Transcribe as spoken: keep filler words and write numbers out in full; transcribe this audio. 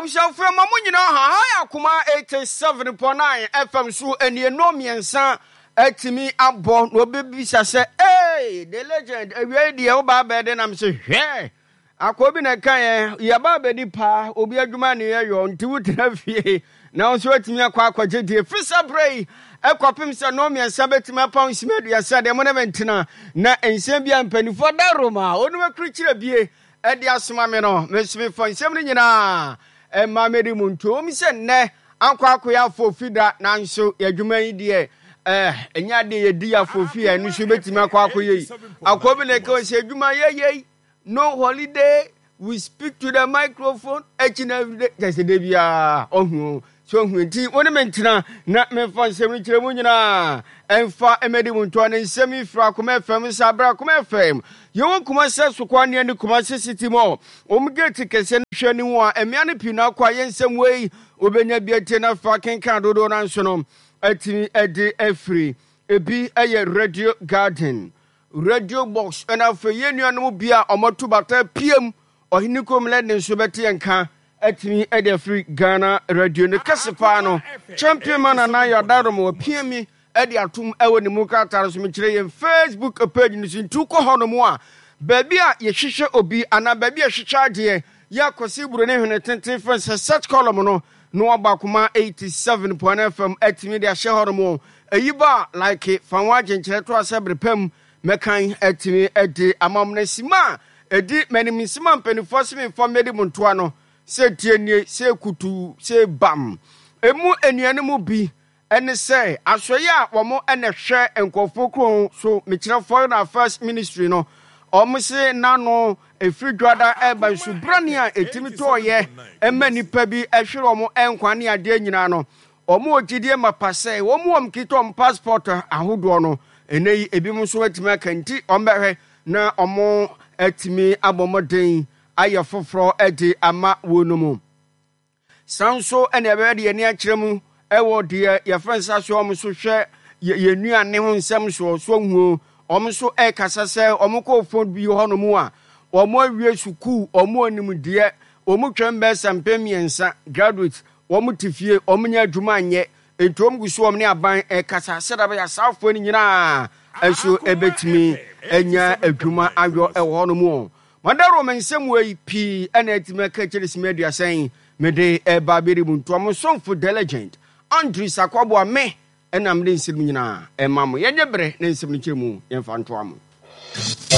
Abusuafoɔ, ma mo nyinaa ha ha yɛ Akoma eighty-seven point nine F M so. Anienu mmiɛnsa atumi abɔ na obɛbisa sɛ, "Ee, the legend, awia yi deɛ woba abɛɛ nam sɛ hwɛ akɔ bi na ɛka yɛ yɛba abɛdi paa obi adwuma ne yɛyɔ nti wotena fie na wo nso atumi akɔ akɔgye deɛ firi sɛ berɛ yi ɛkɔpem sɛ nnɔɔ mmiɛnsa bɛtumi apam nsima aduasa deɛ mo ne me ntena na nsɛm bi a mpanimfoɔ da Roma ɔnum akurikyerɛ bie ɛde asoma me no, me nso mefa nsɛm no nyinaa ɛma mede mu nto wɔm sɛ nnɛ ankɔ akɔyɛ afɔfi da, nanso yɛadwuma yi deɛ ɛɛ ɛnyɛ adeɛ yɛdi afɔfi a ɛno nso bɛtumi akɔ akɔyɛ yi akɔ bi na ɛka sɛ adwuma yɛyɛ no holiday, we speak to the microphone each and every day, kyɛ sɛ de biara ɔhu so ɔhu. Nti wo ne me ntena na memfa nsɛm no kyerɛ mu nyinaa ɛmfa mmɛdi mu ntoa ne nsɛm yi firi Akoma F M sɛ aberɛ Akoma F M yɛwɔ Kumase Sokɔ ne ne Kumase City Mall wɔn gate kɛseɛ no hwɛ ne ho a mmea no pii no akɔ a yɛ nsɛm wei wobɛnya bi atie no afa kenkan dodoɔ no nso no atumi de afiri ebi yɛ Radio Garden, Radio Box, ɛna afei yɛn nuanom bi a wɔto bata piem ɔhene kurom lɛde nso bɛte yɛn ka atumi de afiri Ghana Radio no kɛse paa no. Champion man Nana Yadarom wapia mi de atom wɔ ne mu krataa no so. Mekyerɛ yɛn Facebook page no so, nti wokɔ hɔ nom a, baabi a yɛhwehwɛ obi anaa baabi a yɛhwehwɛ adeɛ yɛ Akɔse Buro ne hwene tenten fɛn sɛ search column no na wabɔ Akoma eighty-seven point F M atumi de ahyɛ hɔ nom. Ɛyi ba a, like fa ho agyenkyerɛ to asɛ bere pam mɛkan atumi de ama mo. No sima a ɛdi m'anim nsɛm a mpanimfoɔ se memfa mmɛdi mo ntoa no sɛ tie nie sɛ kutu sɛ bam emu nnuane mu bi ɛne sɛ asɔeɛ a wɔn ɛna hwɛ nkurɔfoɔ kuro so, mekyerɛ Foreign Affairs Ministry no, wɔn se n'ano efiri dwada ɛba nsubrane a ɛtumi tɔɔyɛ ɛma nipa bi ɛhwere wɔn nkwa ne adeɛ nyinaa no, wɔn wɔ gyidie mapa sɛ wɔn wɔn kita wɔn passport ahodoɔ no ɛnɛ yi ebinom nso atumi aka, nti wɔn bɛhwɛ na wɔn atumi abɔ mmɔden ayɛ foforɔ ɛde ama wɔn no mu. San nso ɛna ɛbɛyɛ de yɛn ani akyerɛ mu ɛwɔ deɛ yɛfrɛ nsa so wɔn nso hwɛ yɛn nnuane ho nsɛm soɔ so huo. Wɔn nso ɛrekasa sɛ wɔn kɔ fo bi hɔnom a wɔn awie sukuu, wɔn anim deɛ wɔn twɛn bɛyɛ sɛ mpem mmiɛnsa graduate, wɔn te fie, wɔn nyɛ adwuma nyɛ, nti wɔn gu so wɔn ne aban ɛrekasa sɛdeɛ bɛyɛ asaafoɔ no nyinaa nso ɛbɛtumi anya adwuma ayɔ ɛwɔ hɔnom. O madaro me nsɛm wei pii ɛna atumi aka kyerɛ sima aduasa yi mede ɛba abɛri mu ntoa mo somfo the legend Andrew Sakwaboa me ɛna mede nsɛm nyinaa ɛma mo. Yɛnyɛ berɛ ne nsɛm no kyerɛ mu yɛmfa ntoa mo.